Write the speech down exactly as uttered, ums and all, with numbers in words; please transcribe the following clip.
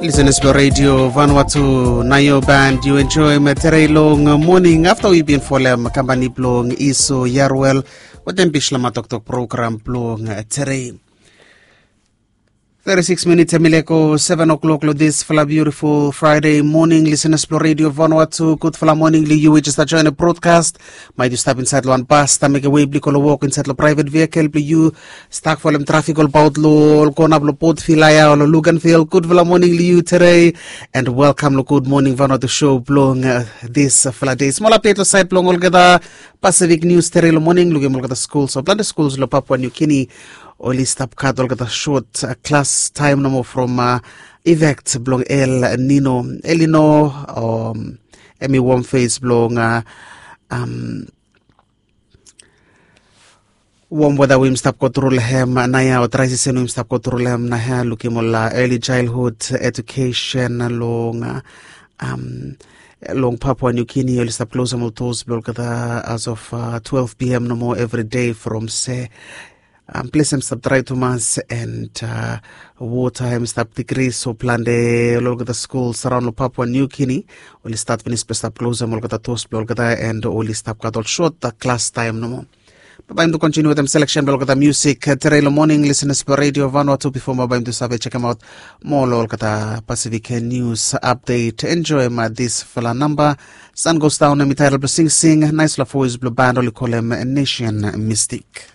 Lisenas blong redio Vanuatu, na yu band yu enjoim terei long moning afta wi bin folem kampani blong Iso Yarwel wetem Bislama toktok program blong terei. Thirty-six minutes em i leko seven o'clock long disfala beautiful Friday morning. Lisenas blong redio Vanuatu, gudfala moning long yu we just join a broadcast. Maet yu stap insaed long wan bas, stap mekem wei blong i go long wok insaed long private vehicle blong yu, stak folem trafik olbaot long ol kona blong Port Vila ya o long Luganville. Gudfala moning long yu terei, and welcome long Good Morning Vanuatu show blong disfala dei. Smol update long saed blong olgeta Pacific News terei long moning. Lukim olgeta skuls o plante skuls long Papua New Guinea oli stap gat olgeta sot klas taem nomo from effect blong El Nino. El Nino em i wom fes blong wom weda we yumi stap go tru long hem naoia o drai sisen we yumi stap go tru long hem naoia. Lukim ol early childhood education long long Papua New Guinea oli stap klosem ol dos blong olgeta as of twelve p m nomo evri dei from se ples em stap drai tumas and wota em stap digri, so plante long olgeta skuls araon long Papua New Guinea oli stat finis blong stap klosem olgeta dos blong olgeta and oli stap gat ol sot klas taem nomo. Bae bae yumi tu kontiniu wetem seleksen blong olgeta musik terei long moning, lisenas blong redio Vanuatu, bifo bae bae yumi tu save sekemaot moa long olgeta Pacific News update. Enjoim disfala namba, Sun Goes Down, em i taetol blong Sing Sing, naesfala voes blong band oli kolem Nation Mystic.